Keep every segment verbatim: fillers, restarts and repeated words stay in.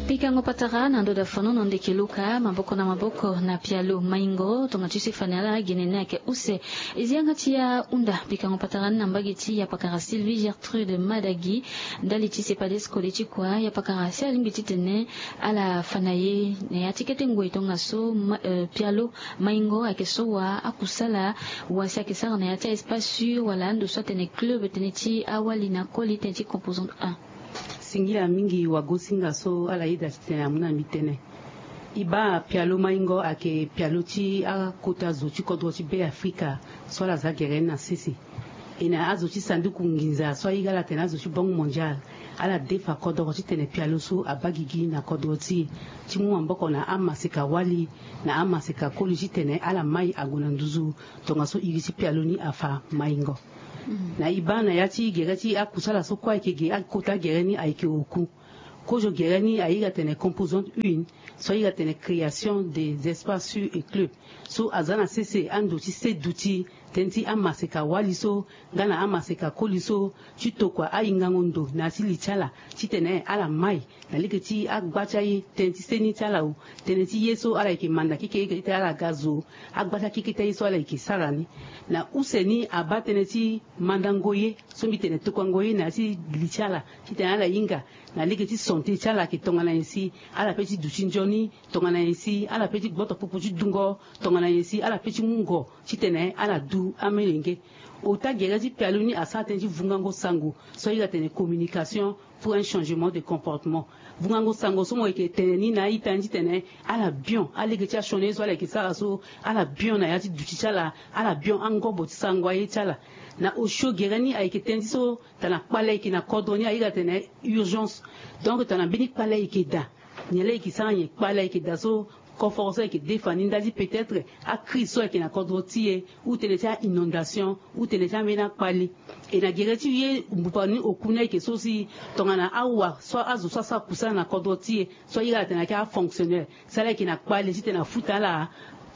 Pikango patara na ndo da fano na ndeke luka maboko na maboko na pialo maingo tonga ti se fani ala gene ni ayeke use. Ezi yanga ti ahunda pikango patara ni na mbage ti yapakara Sylvie Gertrude Madagi. Ndali ti sepadeskole ti kua yapakara si alingbi titene ala fa na ye na ya ti kete ngoi tongaso pialo maingo ayeke so wa akusala wa si ayeke sara na ya ti aespace sur wala ando so atene club tënë ti awali na koli tënë ti composante un. Singila mingi wagosinga so ala yeda titene amu na mbi tënë. E baa pialo maingo ayeke pialo ti akota zo ti kodro ti be afrika so ala za gere ni na sese. E na azo ti sanduku nginza so airi ala tene azo ti banque mondiale ala defa kodoro titene pialo so abaa gigi na kodro ti e ti mu maboko na amaseka wali na amaseka koli titene ala mai ague na nduzu. Tongaso iri ti pialo ni afa maingo. Na e baa na ya ti gere ti akusala so kue ayeke ge akota gere ni ayeke oku. Kozo gere ni airi atene composante une so airi atene création des espaces sur et club so aza na sese ando ti se duti tënë ti amaseka wali so nga na amaseka koli so ti tokua ahingango ndo na ya ti li ti ala titene ala mai na lege ti agba ti aye tënë ti seni ti ala o tënë ti ye so ala yeke manda keke eke ti ala ga zo agba ti akeke ti aye so ala yeke sara ni. Na use ni abaa tënë ti mandango ye so mbi tene tokuango ye na ya ti li ti ala titene ala hinga na lege ti sante ti ala ayeke tongana nyen si ala pe ti duti nzoni tongana nyen si ala pe ti gboto popo ti dungo tongana nyen si ala pe ti mu ngo titene ala du amelenge. Ota gere ti pialo ni asara tënë ti vungango sango so airi atene communication pour un changement de comportement. Vungango sango so mo yeke tene ni na a-ita ni titene ala bion alege ti asioni ye so ala yeke sara so ala bion na ya ti duti ti ala ala bion angobo ti sarango aye ti ala. Na osio gere ni ayeke tënë ti so tana kpale ayeke na kodro ni airi atene urgence. Donc tana mbeni kpale ayeke daa nyen laa e yeke sara nyen kpale ayeke daa so koforo so ayeke defa ni ndali ti peut-être acrise so ayeke na kodro ti e ou tënë ti ainondation ou tënë ti ambeni akpale. E na gere ti ye mbupa ni oku ni ayeke so si tongana awa so azo so asara kusana na kodro ti e so airi ala tene ayeke afonctionnaire si ala yeke na kpale titene afuta ala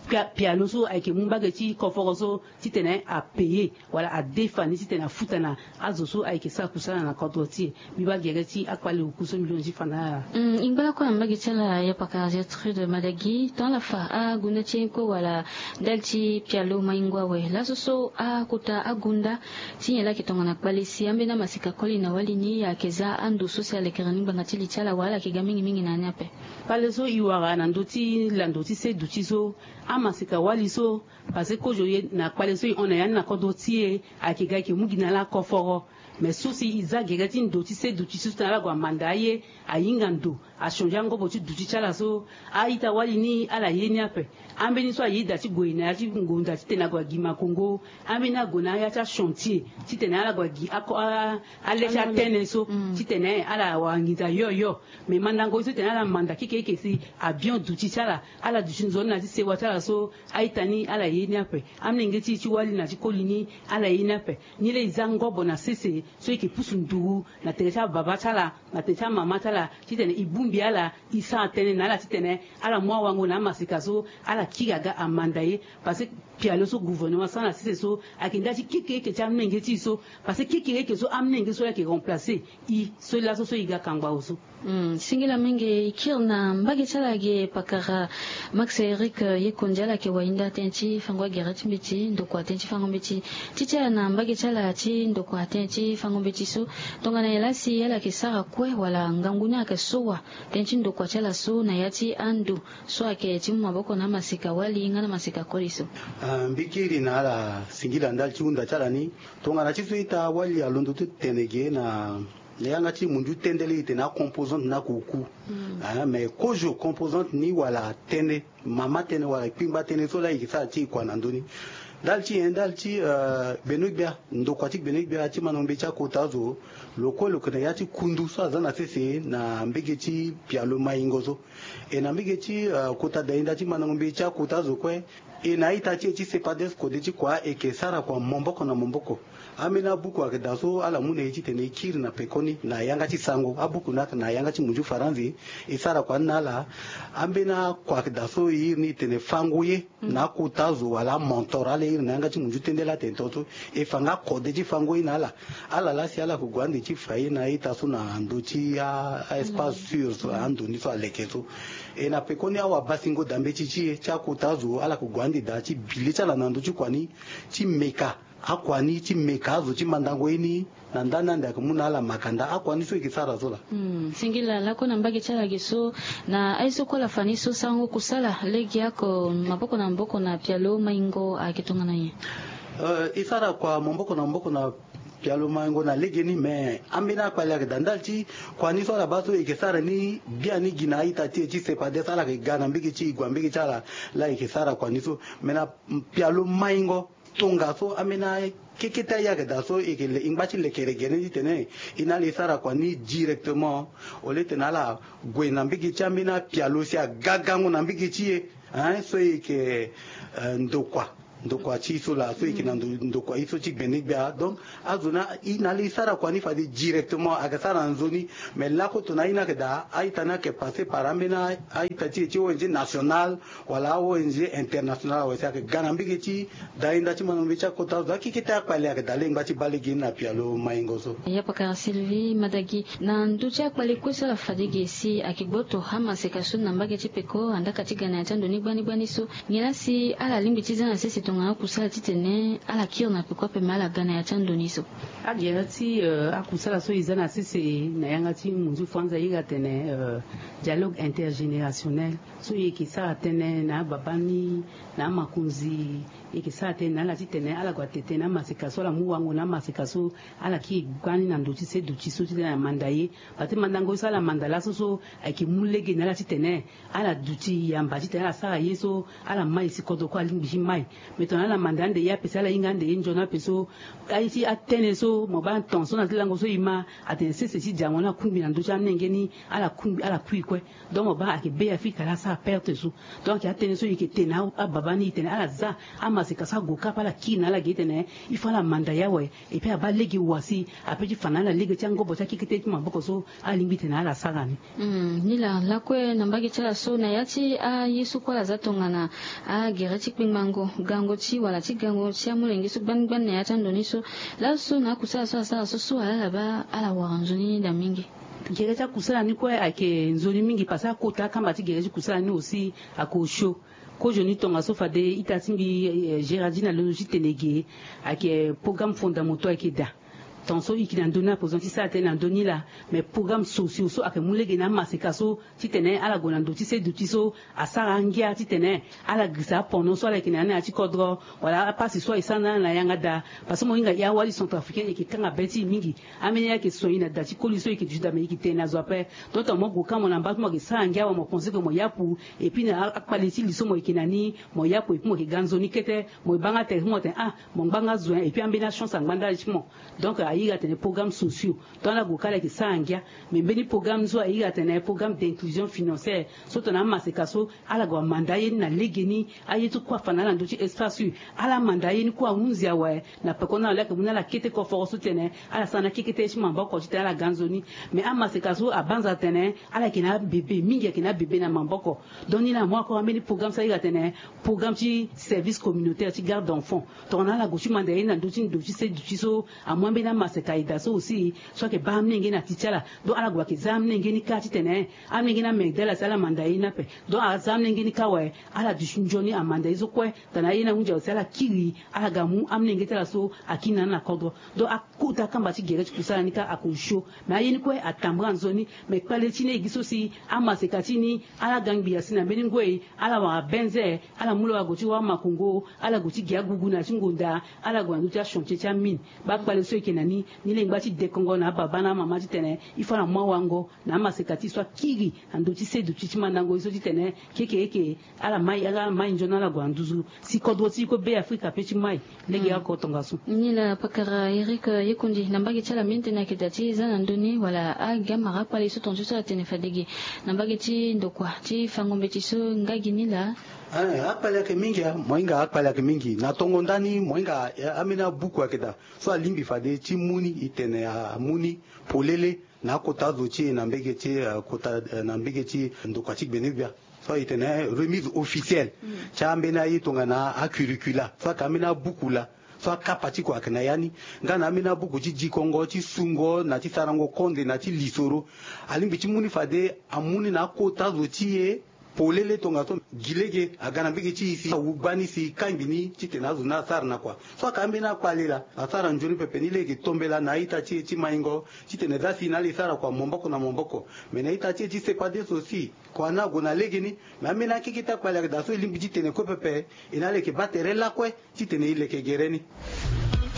pialo so ayeke mu mbage ti koforo so titene apaye wala adefa ni titene afuta na azo so ayeke sara kusana na kodro ti e. Mbi baa gere ti akpale oku so mbi londo ti fa na ala. Ingba lakue na mbage ti ala yapaka Gertrude Madagi ton ala fa agunda ti e kue wala ndali ti pialo maingo awe laso so akota agunda ti nyen laa ayeke tongana kpale si ambeni amaseka koli na wali ni ayeke za ando so si alekere ni ngbanga ti li ti ala wala ala yeke ga mingi mingi na ya ni ape. Kpale so e wara na ndö ti lando ti se duti so amaseka wali so. Parce que kozo ye na kpale so e hon na ya ni na kodro ti e ayeke ga ayeke mu gi na ala koforo. Mais so si e za gere ti ndo ti se duti so tena ala gue amanda aye ahinga ndo achanger angobo ti duti ti ala so a-ita wali ni ala ye ni ape. Ambeni so aye daa ti gue na ya ti ngonda titene ague agi makongo ambeni ague na ya ti achantier titene ala gue agi ako ale ti atënë so titene ala wara nginza yoyo. Mais mandango ye so tene ala manda keke eke si abion duti ti ala ala duti nzoni na ya ti sewa ti ala so a-ita ni ala ye ni ape. Amolenge ti e ti wali na ti koli ni ala ye ni ape. Ni laa e za ngobo na sese so e yeke pusu nduru na tere ti ababa ti ala na tere ti amama ti ala titene e bongbi ala e sara tënë na ala titene ala mu awango na amaseka so ala kiri aga amanda ye. Parce que pialo so gouvernement asara na sese so ayeke nda ti kekereke ti amolenge ti e so. Parce que kekereke so amolenge so ayeke remplacer e so laso so e ga kangba awe so. Singila mingi e kiri na mbage ti ala ge pakara. Max Eric Yekondi ala yeke wahinda tënë ti fango agere ti mbeti ndokua tënë ti fango mbeti ti ti ala na mbage ti ala ti ndokua tënë ti fango mbeti so. Tongana nyen laa si ala yeke sara kue wala ngangu ni ayeke so wa tënë ti ndokua ti ala so na ya ti ando so ayeke ti mu maboko na amaseka wali nga na amaseka koli so. Mbi kiri na ala singila ndali ti hunda ti ala ni. Tongana ti so ita wali alondo ti tene ge na na yanga ti mundu tënë laa e tene acomposante ni ayeke oku. Mais kozo composante ni wala tënë mama tënë wala kpingba tënë so laa e yeke sara ti e kua na ndö ni. Ndali ti nyen ndali ti gbeno-gbia ndokua ti gbeno-gbia ti mandango mbeti akota azo. Lo kue lo yeke na ya ti kundu so aza na sese na mbege ti pialo maingo so. E na mbege ti kota dainda ti mandango mbeti akota azo kue. E na a-ita ti e ti sepades kode ti kua e yeke sara kua maboko na maboko. Ambeni abuku ayeke daa so ala mu na e titene e kiri na pekoni na yanga ti sango. Abuku ni ayeke na yanga ti munzu faranzi. E sara kua ni na ala. Ambeni akua ayeke daa so e iri ni e tene fango ye na akota zo wala amontor ala iri na yanga ti munzu tendela atene tongaso. E fa nga kode ti fango ye na ala. Ala laa si ala yeke gue ande ti fa ye na a-ita so na ndö ti a espace sur so ando ni so aleke so. E na pekoni awabasingo daa mbeti ti e ti akota zo ala yeke gue ande daa ti bi le ti ala na ndö ti kua ni ti meka akua ni ti meka azo ti mandango ye ni. Na ndani ande ayeke mu na ala makanda akua ni so e yeke sara so laa. Singila lakue na mbage ti ala ge so, na aye so kue ala fa ni so sarango kusala legeoko maboko na maboko na pialo maingo ayeke tongana nyen? E sara kua maboko na maboko na pialo maingo na legeni me ambeni akpale ayeke daa ndali ti kua ni so ala baa so e yeke sara ni. Biani gi na a-ita ti e ti sepades ala yeke ga na mbage ti e gue na mbage ti ala. Laa e yeke sara kua ni so me na pialo maingo tongaso ambeni akekete aye ayeke daa so e yeke le e ngba ti lekere gere ni titene e na ala e sara kua ni directement. Au lieu titene ala gue na mbage ti ambeni apialo si aga gango na mbage ti e. Hein, so e yeke ndokua ndokua ti e so laa so e yeke na ndokua ye so ti gbene gbia donc azo ni e na ala e sara kua ni fade directement ayeke sara na nzoni. Mais lakue tongana aye ni ayeke daa a-ita ni ayeke passe par ambeni a-ita ti e ti ong national wala a-ong international awe si ayeke ga na mbege ti dainda ti mandango mbeti akota azo akekete akpale ayeke daa lengba ti baa lege ni na pialo maingo so. Ya pakara Sylvie Madagi, na ndö ti akpale kue so ala fade ge si ayeke gboto amaseka so na mbage ti peko andaka ti ga na ya ti ando ni gbani gbani so, nyen laa si ala lingbi ti za na sese tongana akusala titene ala kiri na peko ape me ala ga na ya ti ando ni so? Agere ti akusala so e za na sese na yanga ti munzu franza e iri atene dialogue intergénérationnel. So e yeke sara tënë na ababa ni, na amakonzi. E yeke sara tënë na ala titene ala gue atete na amaseka so ala mu wango na amaseka so ala kiri gbani na ndo ti se duti so titene ala manda ye. Parce que mandango ye so ala manda laso so ayeke mu lege na ala titene ala duti yamba titene ala sara ye so ala mai si kodro kue alingbi ti mai. Mais tongana ala manda ande ye ape si ala hinga ande ye nzoni ape so aye ti atënë so mo baa ton so na ti lango so e ma atene sese ti diango ni akungbi na ndö ti amolenge ni. Ala kungbi ala kui kue. Donc mo baa ayeke be afrika laa asara perte so. Donc ayeke atënë so e yeke te na ababa ni e tene ala za amaseka so ague kapa ala kiri na ala ge titene il faut ala manda ye awe. Et puis abaa lege wa si ape ti fa na ala lege ti angobo ti akekete ti maboko so alingbi tene ala sara ni. Nilaa lakue na mbage ti ala so na ya ti aye so kue ala za tongana agere ti kpengbango gango ti wala ti gango ti amolenge so gbani gbani na ya ti ando ni so, laso na akusala so asara so so ala ala baa ala wara nzoni ni daa mingi. Gere ti akusala ni kue ayeke nzoni mingi parce que akota akamba ti gere ti kusala ni aussi. Ayeke osio. Kozoni tongaso fade ita ti mbi gérardine alondo ti tene ge. Ayeke programme fondamental ayeke daa. Tongaso e yeke na ndö ni apoison ti sara tënë na ndö ni laa. Mais programme sociaux so ayeke mu lege na amaseka so titene ala gue na ndo ti se duti so asara angia titene ala girisa apono so ala yeke na ya ni na ya ti kodro wala apasi so e sara na ala na yanga daa. Parce que mo hinga e awali centrafricaine e yeke kanga be ti e mingi. Ambeni ayeke soigner na da ti koli so e yeke duti daa me e yeke tene na zo ape. Donc tongana mo gue ka mo na mba ti mo ayeke sara ngia awe mo pense ke mo yapu. Et puis na akpale ti li so mo yeke na ni mo yapu et puis mo yeke ga nzoni kete. Mo baa nga tere ti mo tene ah mo ngba nga zo. Et puis ambeni achance angba ndali ti mo. Donc a iri atene programme sociaux. Donc ala gue ka ala yeke sara ngia. Mais mbeni programme so a iri atene programme d'inclusion financière. So tongana amaseka so ala gue amanda aye ni na legeni. Aye ti kue afa na ala na ndö ti espace hu. Ala manda aye ni kue ahunzi awe. Na peko ni ala yeke mu na ala kete koforo so titene ala sara na kekete ye ti maboko titene ala ga nzoni. Mais amaseka so abanza atene ala yeke na abebe mingi ayeke na abebe na maboko. Donc ni laa amu akora mbeni programme so a iri atene programme ti service communautaire ti garde d'enfant. Tongana ala gue ti manda ye ni na ndö ti ndo ti se duti so amu ambeni amaseka aye daa so aussi. So ayeke baa amolenge na ti ti ala. Donc ala gue ayeke za amolenge ni kâ titene amolenge ni amerde ala si ala manda ye ni ape. Donc aza amolenge ni kâ awe. Ala duti nzoni amanda ye so kue. Tongana aye ni ahunzi awe si ala kiri ala ga mu amolenge ti ala so akiri na ni na kodro. Donc akota akamba ti gere ti kusala ni kâ ayeke osio. Mais aye ni kue atambara nzoni. Mais kpale ti ni e gi so si amaseka ti ni ala ga ngbi asi na mbeni ngoi. Ala wara benze. Ala mu lo ague ti wara makongo. Ala gue ti gi agugu na ya ti ngonda. Ala gue na ndö ti achantier ti amine. Baa kpale so e yeke na ni. Ni lengba ti dekongo na ababa na amama titene il faut ala mu awango na amaseka ti e so akiri na ndö ti se duti ti mandango ye so titene keke eke ala mai ala mai nzoni ala gue na nduzu. Si kodro ti e kue be afrika pe ti mai. Lege oko tongaso. Nilaa pakara eric yekundi na mbage ti ala mingi tënë ayeke daa ti za na ndö ni wala agamara akpale so tongaso so atene fade ge na mbage ti ndokua ti fango mbeti so nga gi nilaa. Akpali ayeke mingi, mohinga akpali ayeke mingi na tongo ndani mohinga. Ambeni abuku ayeke daa so alingbi fade ti mu ni, e tene amu ni polele na akota zo ti e na mbege ti akota na mbege ti ndokua ti gbene-gbia. So e tene remise officielle ti ambeni aye tongana acurricula so ayeke ambeni abuku laa. So akapa ti kua ayeke na ya ni nga na ambeni abuku ti dikongo ti sungo na ti sarango konde na ti lisoro. Alingbi ti mu ni fade amu ni na akota zo ti e polele tongaso gi lege aga na mbege ti e si awu gbani si kangbi ni titene azo ni asara na kua. So aka ambeni akpali laa asara nzoni pepe ni lege tombela na a-ita ti e ti maingo titene za si na ala e sara kua maboko na maboko. Me na a-ita ti e ti sepadeso si kua ni ague na legeni. Me ambeni akeke ti akpali ayeke daa so e lingbi titene kue pepe e na ala e yeke baa tere lakue titene e leke gere ni.